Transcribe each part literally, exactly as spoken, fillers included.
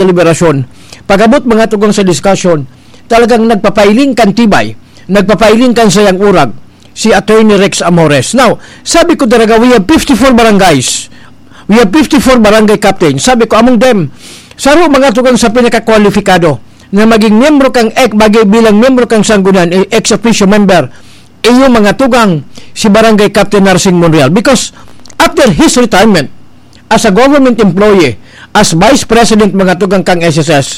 deliberasyon, pag-abot mga tugang sa discussion, talagang nagpapailing kan tibay, nagpapailing kan sayang urag, si Attorney Rex Amores. Now, sabi ko talaga, we have fifty-four barangays. We have fifty-four barangay captains. Sabi ko, among them, saro mga tugang sa pinakakwalipikado na maging miyembro kang ek-, bagay bilang miyembro kang sanggunian, eh, ex officio member, iyo mga tugang, si Barangay Captain Narsing Monreal. Because after his retirement as a government employee, as vice president mga tugang kang S S S,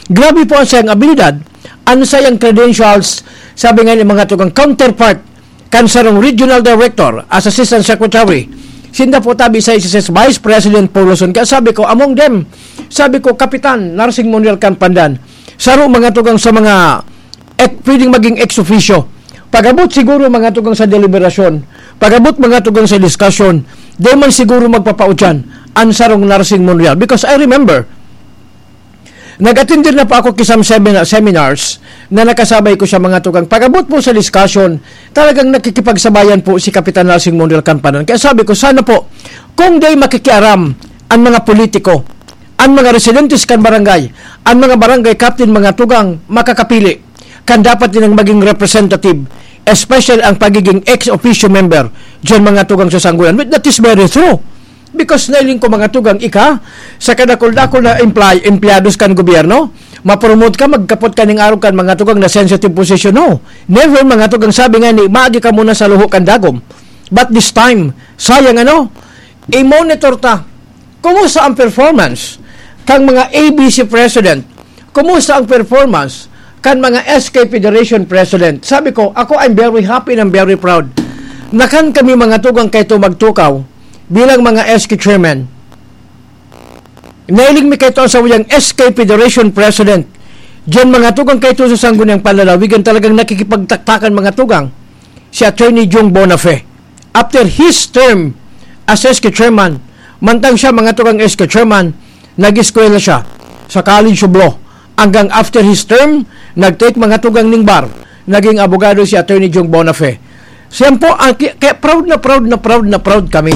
grabe po ang sayang abilidad, ang sayang credentials, sabi nga ni mga tugang counterpart, kan sarong regional director as assistant secretary, sinda po tabi sa S S S Vice President Paul Luzon. Kaya sabi ko, among them, sabi ko, Kapitan Narsing Monreal kan Pandan, saro mga tugang sa mga ek-, pwedeng maging ex officio. Pag-abot siguro mga tugang sa deliberasyon, pag-abot mga tugang sa discussion, di man siguro magpapautyan ang sarong Narsing Monreal. Because I remember, nag-attend din na po ako ki some semina-, seminars na nakasabay ko siya mga tugang. Pag-abot po sa discussion, talagang nakikipagsabayan po si Kapitan Narsing Monreal kan Pandan. Kaya sabi ko, sana po, kung di makikiaram ang mga politiko, ang mga residentes kan barangay, ang mga barangay captain, mga tugang, makakapili kan dapat nilang maging representative, especially ang pagiging ex officio member diyan mga tugang sa sanggunian. With that is very true. Because nailing ko mga tugang ika, sa kadakul-dakul na employ-, empleyados kan gobyerno, mapromote ka, magkapot ka ning arog kan mga tugang na sensitive position. No, never mga tugang sabi nga ni, maagi ka muna sa luho kan dagom. But this time, sayang ano, i-monitor ta. Kumusta ang performance kang mga A B C president? Kumusta ang performance kan mga S K Federation president? Sabi ko, ako, I'm very happy and I'm very proud na kan kami mga tugang kaito magtukaw bilang mga S K chairman. Nailing mi kaito sa uyang S K Federation president. Diyan mga tugang kaito sa Sangguniang Panlalawigan talagang nakikipagtaktakan mga tugang si Attorney Jung Bonafe. After his term as S K chairman, mantang siya mga tugang S K chairman, nag-eskwela siya sa College of Law. Hanggang after his term, nag-take mga tugang ning bar, naging abogado si Attorney Jung Bonafe. Siya po, ang ki-, kaya proud na proud na proud na proud kami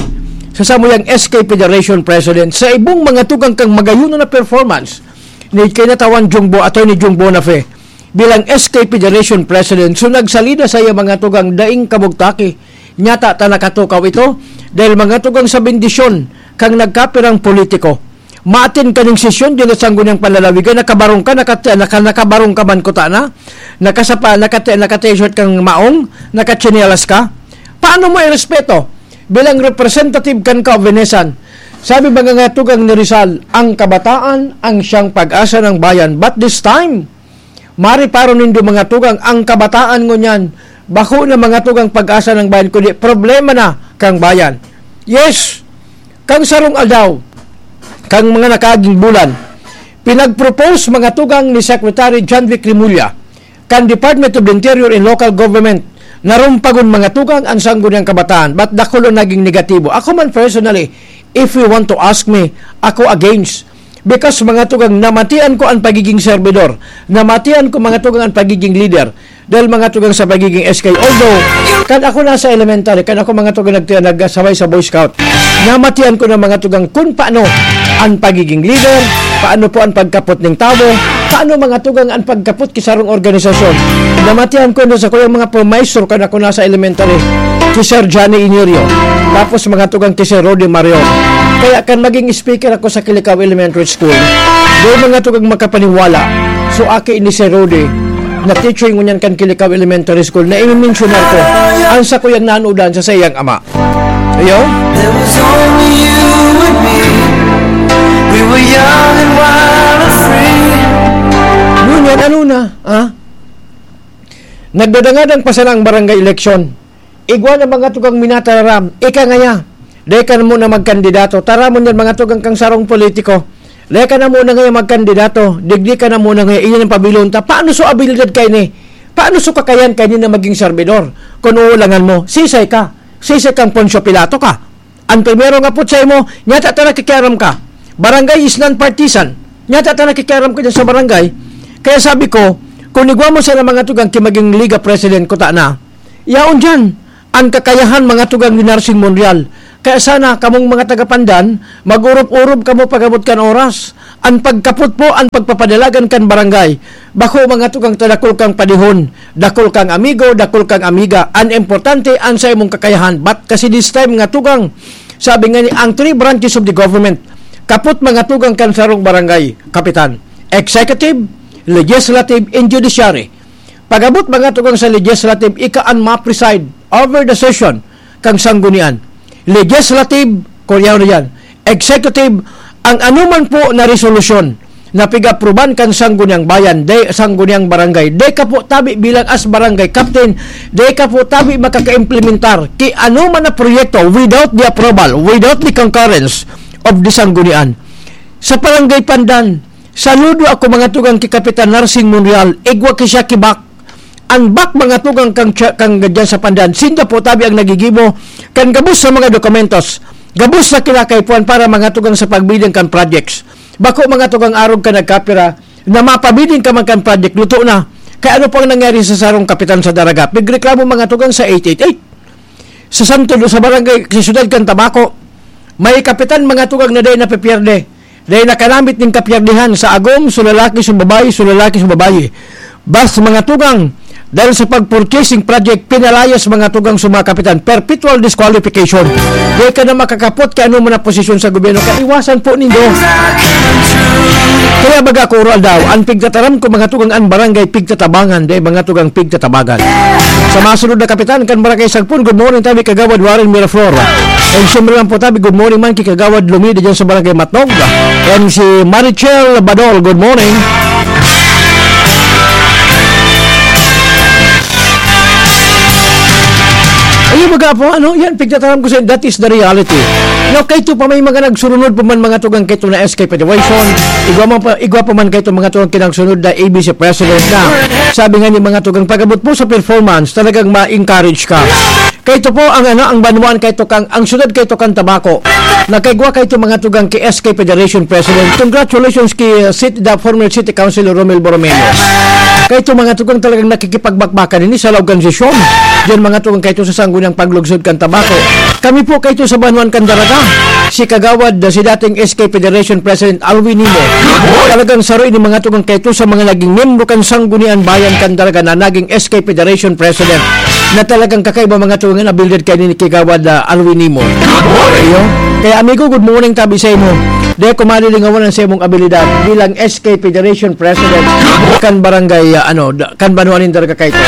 sa samuyang S K Federation President sa ibong mga tugang kang magayon na performance ni kinatawan Jung Bo, Attorney Jung Bonafe bilang S K Federation President. So, nagsalida sa iya mga tugang daing kabugtaki. Nyata ta nakatukaw ito dahil mga tugang sa bendisyon kang nagkapirang politiko. Maatin kaning sesyon, di na sangguniang panlalawigan, nakabarong ka, nakati-, naka-, nakabarong ka man kuta na, nakasapa, nakati-, naka-t-shirt kang maong, nakatsinelas ka. Paano mo irespeto bilang representative kan kaobenesan? Sabi mga nga tugang ni Rizal, ang kabataan ang siyang pag-asa ng bayan. But this time, mariparo nindo mga tugang, ang kabataan ngunyan, bako na mga tugang pag-asa ng bayan, kundi problema na kang bayan. Yes, kang sarong aldaw, kang mga nakaaging bulan, pinag-propose mga tugang ni Secretary John Vic Remulla, kan Department of the Interior and Local Government, na rumpagon mga tugang ang sangguniang kabataan, but dakul ang naging negatibo. Ako man personally, if you want to ask me, ako against. Because mga tugang, namatian ko ang pagiging servidor. Namatian ko mga tugang ang pagiging leader. Dahil mga tugang sa pagiging S K. Although, kan ako nasa elementary, kan ako mga tugang nag-, nagsabay sa Boy Scout, namatian ko na mga tugang kung paano ang pagiging leader, paano po ang pagkapot ng tao, paano mga tugang ang pagkapot ki sarong organisasyon. Namatian ko na sa kuyang mga pamaestro kan ako nasa elementary, si Sir Johnny Inirio, tapos mga tugang ki Sir Rudy Marion. Kaya kan maging speaker ako sa Kilikao Elementary School, di mga tugang makapaniwala. So, aki ni Sir Rudy, na teacher ngunyan kan Kilikao Elementary School, na i-mention ko, ang sa kuyang nanudan sa sayang ama. Ayo? There was only you and me. We were young and wild and free. Ngunyan, ano na, ha? Nagdadangadang pa sana ang barangay election. Igwa na mga tugang minatararam, ika ngaya, dai ka na muna magkandidato. Taramon yan mga tugang kang sarong politiko. Dai ka na muna ngaya magkandidato, digdi ka na muna ngaya, iyan ang pabilon ta. Paano so abilidad kaini? Paano so kakayan kaini na maging serbidor? Kung uulangan mo, sisay ka. Sisay kang Poncio Pilato ka. Ang primero nga putsa mo, nyata ta nakikiaram ka. Barangay is non-partisan. Nyata ta nakikiaram ka dyan sa barangay. Kaya sabi ko, kung igwa mo sana mga tugang ki maging Liga President ko ta na, yaon dyan, ang kakayahan mga tugang ni Narsing Monreal. Kaya sana kamong mga taga-Pandan, mag-urup-urup kamo pag-abot kan oras. An pagkapot po an pagpapadalagan kan barangay. Bako, mga tugang, ta dakul kang padihon, dakul kang amigo, dakul kang amiga. An importante, an sa imong kakayahan. But kasi this time, mga tugang, sabi nga ni, ang three branches of the government, kapot, mga tugang, kan sarong barangay kapitan: executive, legislative, and judiciary. Pag-abot, mga tugang, sa legislative, ika an ma-preside over the session kan sanggunian. Legislative, kuryaw na yan. Executive, ang anuman po na resolusyon na pig-aproban kan sangguniang bayan, de sangguniang barangay, de ka po tabi bilang as barangay captain, de ka po tabi makakaimplementar ki anuman na proyekto without the approval, without the concurrence of the sanggunian. Sa Barangay Pandan, saludo ako, mga tugang, ki Kapitan Narsing Monreal, igwa ki siya kibak. An bak, mga tugang, kang, kang dyan sa Pandan, sinda po tabi ang nagigibo kan gabos sa mga dokumentos, gabos na kinakaipuhan para, mga tugang, sa pagbilang kan projects. Bako, mga tugang, arog ka nagkapira na mapabiling ka man kan project, luto na. Kaya ano po ang nangyari sa sarong kapitan sa Daraga? Pigreklamo, mga tugang, sa eight eight eight. Sa Santo, sa barangay, sa siyudad kan Tabaco, may kapitan, mga tugang, na dai napipierde. Dai nakanamit ning kapiyerdihan sa agom, so lalaki, so babayi, so lalaki, so babayi. Bas, mga tugang, dahil sa pag-purchasing project, pinalayas, mga tugang, sa mga kapitan. Perpetual disqualification. Di ka na makakapot kay ano man na posisyon sa gobyerno. Kaiwasan po nindo. Kaya baga ako, Oral daw, ang pigtataram ko, mga tugang, ang barangay pigtatabangan, di, mga tugang, pigtatabagan. Sa masunod na kapitan, kan Barangay Sagpon, good morning, tabi Kagawad Warren Miraflor. And siyempre lang po, tabi, good morning man kay Kagawad Lumida dyan sa Barangay Matnog. And si Marichel Badol, good morning. Ayun, baga po, ano, yan, pigtataram ko sa, that is the reality. Now, kaito pa may mga nagsurunod pa man, mga tugang, kaito na S K Federation, igwa man pa, igwa pa man kaito, mga tugang, kinagsunod na A B C President na. Sabi nga ni, mga tugang, pag-abot po sa performance, talagang ma-encourage ka. Kaito po ang, ano, ang banwaan kaito kang, ang siyudad kaito kan Tabaco. Nakaigwa kaito, mga tugang, ki S K Federation President. Congratulations ki, uh, city, the former City Councilor Romel Borromeo. Kaito, mga tugang, talagang nakikipagbakbakan ini sa laog kan sesyon. Diyan, mga tugang, kaito sa sangguniang paglugsod kan Tabaco. Kami po kaito sa banwaan kan Daraga. Si Kagawad, uh, si dating S K Federation President Alwin Nimo. Talagang saro ini, mga tugang, kaito sa mga naging miyembro kan Sanggunian Bayan kan Daraga na naging S K Federation President na talagang kakaiba, mga tugang, na builded kay ni Kagawad, ah, Alwin Nimo. Iyo. Kaya, amigo, good morning tabi sa imo. Di ko malilingawan ang sa imong abilidad bilang S K Federation President kan barangay, ah, ano, da- kan Banwa nin Daraga kaito.